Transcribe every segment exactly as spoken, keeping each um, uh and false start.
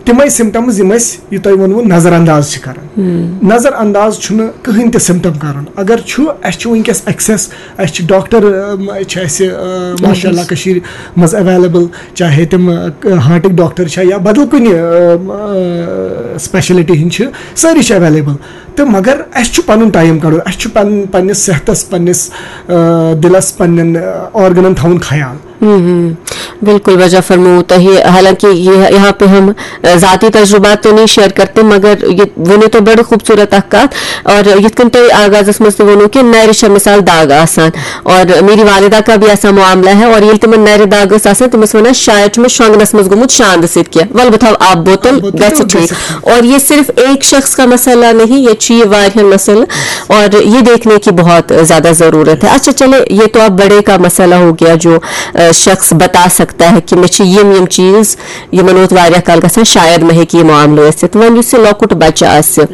تِمے سمٹمز یِم أسۍ، یہِ تۄہہِ ووٚنوُ، نظر انداز چھِ کران۔ نظر انداز چھُنہٕ کٕہٕنۍ تہِ سمٹم کرُن۔ اگر چھُ، اَسہِ چھُ وٕنکیٚس ایکسیس، اَسہِ چھِ ڈاکٹر، اَم، چھِ اَسہِ، اَ، ماشاء اللہ، کٔشیٖرِ منٛز ایویلیبل، چاہے تِم، اَ، ہارٹٕکۍ ڈاکٹر چھا یا بدل کُنہِ، اَ، اَ، سپیشلٹی ہٕنٛدۍ چھِ، سٲری چھِ ایویلیبل۔ تہٕ مگر اَسہِ چھُ پنُن ٹایم کڑُن، اَسہِ چھُ پن-، پننِس صحتس، پننِس، اَ، دِلس، پننٮ۪ن، اَ، آرگنن تھاوُن خیال۔ ہم، ہم۔ بالکل وجہ فرموو تۄہہِ، حالانکہ یہ یہاں پہ ہم، اَ، ذاتی تجربات تو نہیں شیئر کرتے، مگر یہ ؤنِو تۄہہِ بڑٕ خوبصورت اکھ کتھ، اور یِتھ کٔنۍ تۄہہِ آغازس منٛز تہِ ووٚنوُ کہ نرِ چھےٚ مثال داغ آسان، اور میری والدہ کا بھی ایسا معاملہ ہے، اور ییٚلہِ تِمن نرِ داغ ٲس آسان، تِم ٲسۍ ونان، شاید چھُ مےٚ شۄنٛگنس منٛز گوٚمُت شاندٕ سۭتۍ کینٛہہ، ولہٕ بہٕ تھاوٕ آب بوتل، آب بوتل گژھِ تہٕ ٹھیٖک۔ گژھِ۔ اور یہ صرف ایک شخص کا مسئلہ نہیں، یہ چھُ یہِ واریاہن مسئلہٕ، اور یہ دیکھنے کی بہت زیادہ ضرورت ہے۔ اچھا چلے، یہ تو اب بڑے کا مسئلہ ہو گیا جو، اَ، شخص بتا سکتا ہے کہ مےٚ چھِ یِم یِم چیٖز، یِمن اوس واریاہ کال گژھان، شاید مےٚ ہیٚکہِ یہِ معاملہٕ ٲسِتھ۔ وۄنۍ یُس یہِ لۄکُٹ بچہٕ آسہِ،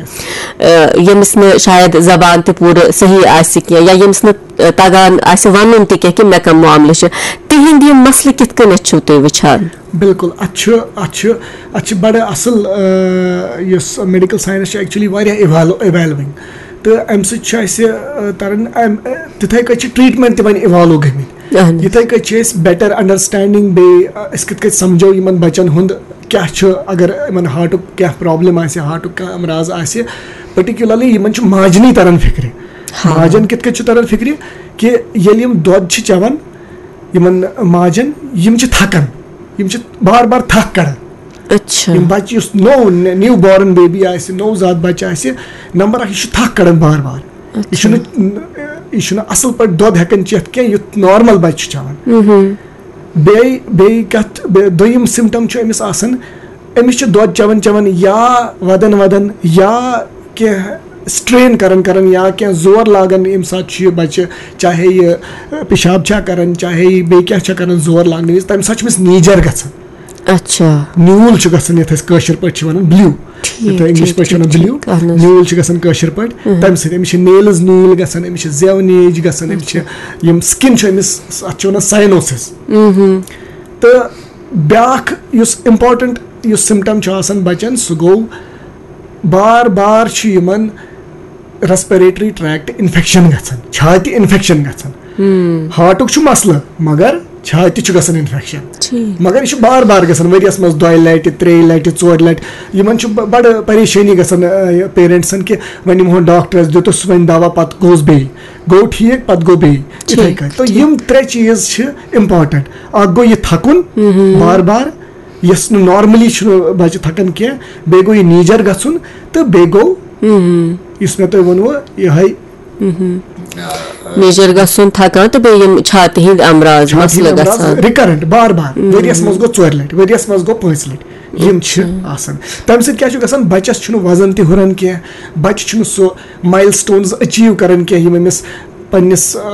اَ، ییٚمِس نہٕ شاید زبان تہِ پوٗرٕ صحیح آسہِ کینٛہہ، یا ییٚمِس نہٕ، اَ، تگان آسہِ ونُن تہِ کینٛہہ کہ مےٚ کم معاملہٕ چھِ، تِہنٛدۍ یِم مسلہٕ کِتھ کٔنٮ۪تھ چھِو تُہۍ وٕچھان؟ بالکل، اتھ چھُ، اتھ چھُ، اتھ چھِ بڑٕ اصل، اَ، یُس میڈیکل ساینس چھُ، ایکچولی واریاہ ایوالو-، ایوالونگ۔ تہٕ امہِ سۭتۍ چھُ اسہِ، اَ، تران، امہِ، اَ، تِتھے کٔنۍ چھِ ٹریٹمنٹ تہِ وۄنۍ ایوالو گٔمٕتۍ۔ اہن۔ یِتھے کٔنۍ چھِ أسۍ بیٹر انڈرسٹینڈنگ بیٚیہِ، اَ، أسۍ کِتھ کٔنۍ سمجھو یِمن بچن ہُنٛد کیاہ چھُ، اگر یِمن ہارٹُک کینٛہہ پرابلم آسہِ، ہارٹُک کانٛہہ امراض آسہِ، پٔرٹِکیولرلی یِمن چھُ ماجنٕے تران فِکرِ۔ ہاں۔ ماجن کِتھ کٔنۍ چھُ تران فِکرِ؟ کہِ ییٚلہِ یِم دۄد چھِ چٮ۪وان، یِمن ماجن، یِم چھِ تھکان، یِم چھِ بار بار تھکھ کڑان۔ اچھا۔ یِم بچہِ، یُس نوٚو، نیو بارن بیبی آسہِ، نوٚو زاد بچہِ آسہِ، نمبر اکھ، یہِ چھُ تھکھ کڑان بار بار۔ یہِ اچھا۔ چھُنہٕ، یہِ چھُنہٕ اصل پٲٹھۍ دۄد ہٮ۪کان چٮ۪تھ کینٛہہ، یُتھ نارمل بچہِ چھُ چٮ۪وان۔ مہم۔ بیٚیہِ، بیٚیہِ کتھ، بیٚیہِ دوٚیِم سمٹم چھُ أمِس آسان، أمِس چھِ دۄد چٮ۪وان چٮ۪وان یا ودان ودان یا کینٛہہ سٹرین کران کران یا کینٛہہ زور لاگان، ییٚمہِ ساتہٕ چھُ یہِ بچہِ، چاہے یہِ، ٲ، پِشاب چھا کران، چاہے یہِ بیٚیہِ کینٛہہ چھا کران زور لاگنہٕ وِزِ، تمہِ ساتہٕ چھُ أمِس نیٖجر گژھان۔ اچھا۔ نیوٗل چھُ گژھان، یتھ أسۍ کٲشِر پٲٹھۍ چھِ ونان بِلیو۔ ٹھیٖک، یتھ انگلش ٹھیٖک، پٲٹھۍ چھِ ونان ٹھیٖک، بِلیو۔ ٹھیٖک، اہن حظ۔ نیوٗل چھُ گژھان کٲشِر پٲٹھۍ۔ اہن۔ تمہِ سۭتۍ أمِس چھِ نیلٕز نیٖلۍ گژھان، أمِس چھِ زیو نیج گژھان، أمِس چھِ، اچھا۔ یِم سکن چھُ أمِس، اتھ چھِ ونان ساینوسس۔ مہم۔ تہٕ بیٛاکھ یُس امپورٹنٹ یُس سمٹم چھُ آسان بچن، سُہ گوٚو بار بار چھُ یِمن ریسپریٹری ٹریکٹ انفیکشن گژھان، چھاتہِ انفیکشن گژھان۔ ہم۔ ہارٹُک چھُ مسلہٕ، مگر چھاتہِ چھُ گژھان انفیکشن۔ ٹھیٖک۔ مگر یہِ چھُ بار بار گژھان، ؤریس منٛز دۄیہِ لٹہِ، ترٛیٚیہِ لٹہِ، ژورِ لٹہِ۔ یِمن چھُ ب-، بڑٕ پریشٲنی گژھان، آ، یہِ پیرنٹسن کہِ وۄنۍ نِمہون ڈاکٹرس، دیُتُس وۄنۍ دوا، پتہٕ گوٚوس بیٚیہِ، گوٚو ٹھیٖک، پتہٕ گوٚو بیٚیہِ۔ یِتھے ٹھیٖک، کٔنۍ۔ تہٕ ٹھیٖک۔ یِم ترٛےٚ چیٖز چھِ امپورٹنٹ۔ اکھ گوٚو یہِ تھکُن، ہم۔ بار بار، یۄس نہٕ نارملی چھُنہٕ بچہِ تھکان کینٛہہ، بیٚیہِ گوٚو یہِ نیٖجر گژھُن، تہٕ بیٚیہِ گوٚو، ہم۔ یُس مےٚ تۄہہِ ووٚنوُ، یِہے۔ ہم۔ نیٖجر گژھُن، تھکان، تہٕ بیٚیہِ یِم چھاتہِ ہٕنٛدۍ امراض، چھاتہِ ہٕنٛدۍ مسلہٕ امراض گژھان۔ ریکرنٹ، بار بار، ہم۔ ؤریس منٛز گوٚو ژورِ لٹہِ، ؤریس منٛز گوٚو پانٛژِ لٹہِ، یِم چھِ اچھا۔ آسان۔ تمہِ سۭتۍ کیٛاہ چھُ گژھان؟ بچس چھُنہٕ وزن تہِ ہُران کینٛہہ، بچہِ چھُنہٕ سُہ مایل سٹونز اچیو کران کینٛہہ، یِم أمِس پننِس، آ،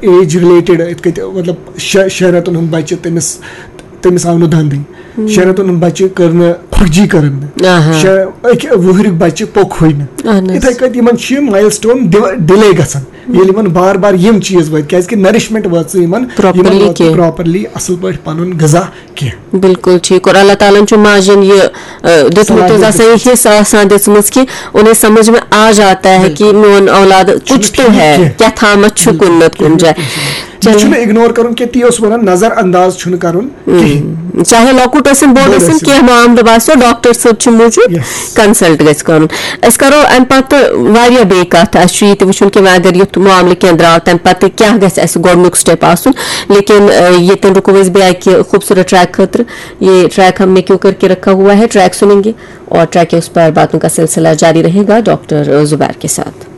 ایج رِلیٹڈ، یِتھ کٔنۍ، مطلب، شےٚ، شےٚ رٮ۪تن ہُنٛد بچہِ، تٔمِس، تٔمِس آو نہٕ دنٛدٕے۔ ہم۔ شےٚ رٮ۪تن ہُنٛد بچہِ کٔر نہٕ کھۄکھجی کٔرٕن نہٕ۔ آہا۔ شےٚ، أکہِ وُہٕریُک بچہِ پوٚکھُے نہٕ۔ اہن حظ۔ یِتھے کٔنۍ یِمن چھِ یِم مایل سٹون ڈِ-، ڈِلے گژھان، ییٚلہِ یِمن بار بار یِم چیٖز وٲتۍ، کیازِ کہِ نرشمنٹ وٲژ نہٕ یِمن، یِمن پراپرلی ووت نہٕ کینٛہہ۔ پراپرلی اصل پٲٹھۍ پنُن غذا کینٛہہ۔ بالکل ٹھیٖک۔ اور اللہ تعالیٰ ہن چھُ ماجن یہِ، آ، دیُتمُت صلاحیت حظ آسان، یہِ دِژمٕژ۔ حصہٕ آسان دِژمٕژ کہِ انہیں سمجھ میں آ جاتا ہے، بالکل۔ کہ میون اولاد چھُنہٕ کچھ تو ٹھیٖک ہے، کینٛہہ۔ کیٛاہ تھامتھ چھُ بالکل، کُنہِ نتہٕ کُنہِ بالکل، جایہِ۔ بالکل۔ یہِ چلو۔ چھُنہٕ اگنور کرُن کینٛہہ، تی اوس ونان نظر انداز چھُنہٕ کرُن کِہیٖنۍ۔ ہم۔ چاہے لۄکُٹ ٲسِن، بوٚڑ بوٚڑ ٲسِن، ٲسِن۔ کینٛہہ معاملہٕ باسیو، ڈاکٹر صٲب چھِ موٗجوٗد، یس۔ کنسلٹ گژھِ کرُن۔ أسۍ کرو امہِ پتہٕ واریاہ بیٚیہِ کتھ، اسہِ چھُ یہِ تہِ وٕچھُن کہِ وۄنۍ اگر یُتھ معاملہٕ کینٛہہ درٛاو، تمہِ پتہٕ کیٛاہ گژھِ اسہِ گۄڈٕنیُک سٹیپ آسُن۔ لیکن، اے، ییٚتٮ۪ن رُکو أسۍ بیٚیہِ اکہِ خوٗبصوٗرت ٹریک خٲطرٕ۔ یہ ٹریک ہم نے کیوں کر کے رکھا ہوا ہے، ٹریک سنیں گے اور ٹریک کے اس پر باتوں کا سلسلہ جاری رہے گا ڈاکٹر زبیر کے ساتھ۔